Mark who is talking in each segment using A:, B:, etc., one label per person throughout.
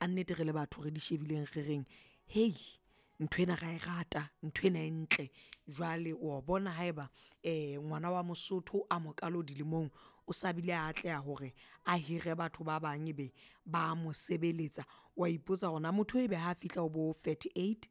A: Ka nnete re le batho re di shebileng re reng hei nthwena ra e rata, nthwena e ntle. Jwale wa bona haeba ngwana wa Mosotho a mokalo dilemong o sa bile a atleha hore a hire batho ba bang ebe ba mo sebeletsa, wa ipotsa hore na motho ebe ha fihla ho bo 38,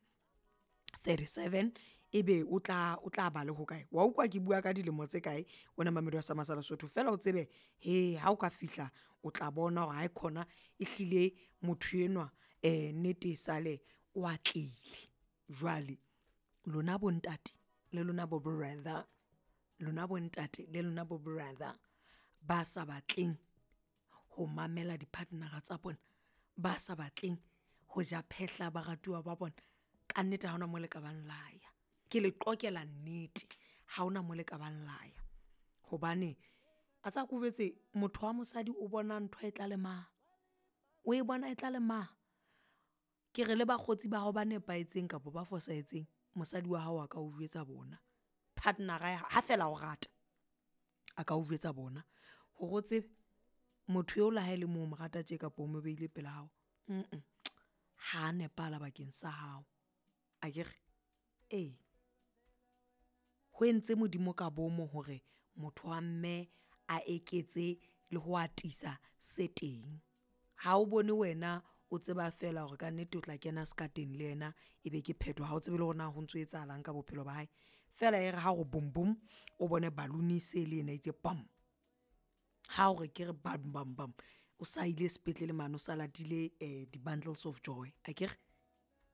A: 37 ebe o tla ba le hokae. Wa utlwa ke bua ka dilemo tse kae wena momamedi wa sa masale Sotho fela o tsebe hee ha o ka fihla o tla bona hore haikhona ehlile motho enwa nnete e sale o atlehile. Jwale lona bontate le lona bo brother, lona bontate le lona bo brother ba sa batleng ho mamela di-partner-a tsa bona, ba sa batleng ho ja phehla baratuwa ba bona, ka nnete ha hona mo le ka bang la ya. Ke le qoqela nnete, ha hona mo le ka bang la ya hobane a tseba ko jwetse motho wa mosadi o bona ntho e tla le mang, o e bona e tla le mang. Ke re le bakgotsi ba hao ba nepahetseng kapa ba fosahetseng, mosadi wa hao a ka o jwetsa bona, partner-ra ya ha feela a o rata, a ka o jwetsa bona. Hore o tsebe motho eo le ha e le mo o mo rata tje kapa o mo behile pela hao ha nepahala bakeng sa hao akere, ee. Ho entse Modimo ka bomo hore motho wa mme a eketse le ho atisa se teng. Ha o bone wena o tseba feela hore kannete o tla kena sekateng le yena, ebe ke phetho ha o tsebe le hore na ho ntso etsahalang ka bophelo ba hae. Feela e re ha o re boom boom o bone balloon e se le ena e itse pam, ha o re ke re bam bam bam, o sa ile sepetlele mane o sa latile di-bundles of joy akere.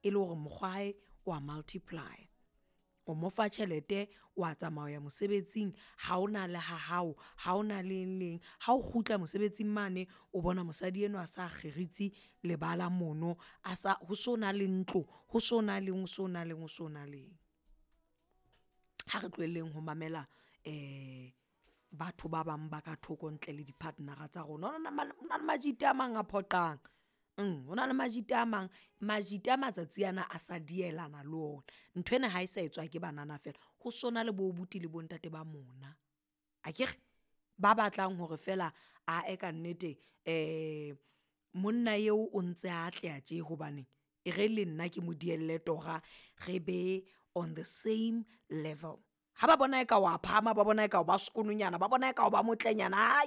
A: E le hore mokgwa wa hae wa multiply-a, o mo fa tjhelete wa tsamaya mosebetsing ha ona le ha hao, ha ona le eng le eng. Ha o kgutla mosebetsing mane o bona mosadi enwa a sa kgeritse lebala mono, a sa ho so na le ntlo, ho so na leng, ho so na leng, ho so na leng. Ha re tlohelleng ho mamela batho ba bang ba ka thoko ntle le di-partner-ra tsa rona. Ho na le majita a mang a phoqang, ho na le majita a mang, majita a matsatsi ana a sa dielana le ona. Nthwena ha e sa etswa ke banana feela ho sona le bo abuti le bontate ba mona akere, ba batlang hore feela ae kannete monna eo o ntse atleha tje hobane e re le nna ke mo dielle tora re be on the same level. Ha ba bona eka wa phahama, ba bona eka o ba skoononyana, ba bona eka o ba motlenyana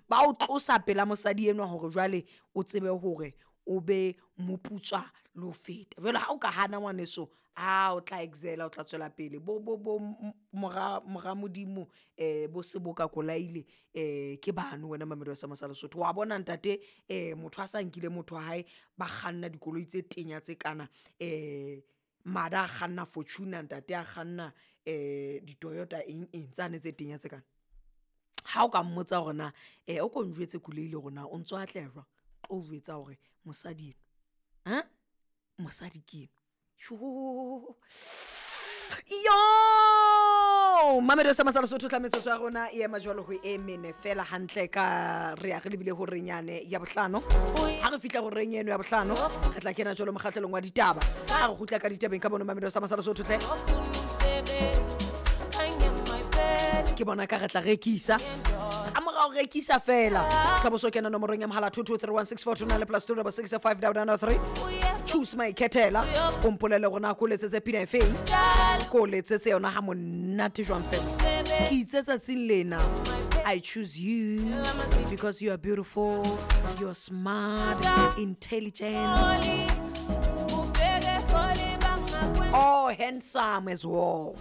A: ba o tlosa pela mosadi enwa hore jwale o tsebe hore o be moputswa le ho feta. Jwale ha o ka hana ngwaneso, o tla excel-a o tla tswela pele bo mora Modimo bo Seboka Kolaile ke bano wena momamedi wa seema sa Lesotho. Wa bona ntate motho a sa nkile motho wa hae, ba kganna dikoloi tse tenya tse kana mada a kganna Fortuner, ntate a kganna di-Toyota eng eng tsane tse tenya tse kana. Ha o ka mmotsa hore na o ko njwetse Kuleile hore na o ntso atleha jwang, o tlo jwetsa hore mosadi enwa mosadi ke enwa yo mamello sa masala Sotho tla metsotso ya rona e ema jwalo ho e mene fela hantle ka re ya re lebile ho renyane ya bohlano. Ha re fihla ho reng eno ya bohlano re tla kena jwalo mokgahlelong wa ditaba. Ha re kgutla ka ditabeng ka bono mamello sa masala Sotho tle ke bona ka re tla rekisa ka mora ho rekisa fela tla bo so kena nomorong ya mohala 2231642 le plus 2 6 5 9 3 choose my khethela o mpolelle gore na ko letsetse pina efeng ko letsetse yona ha monate jwang fela ke itse tsatsing lena I choose you because you are beautiful, you are smart, intelligent, oh handsome as well.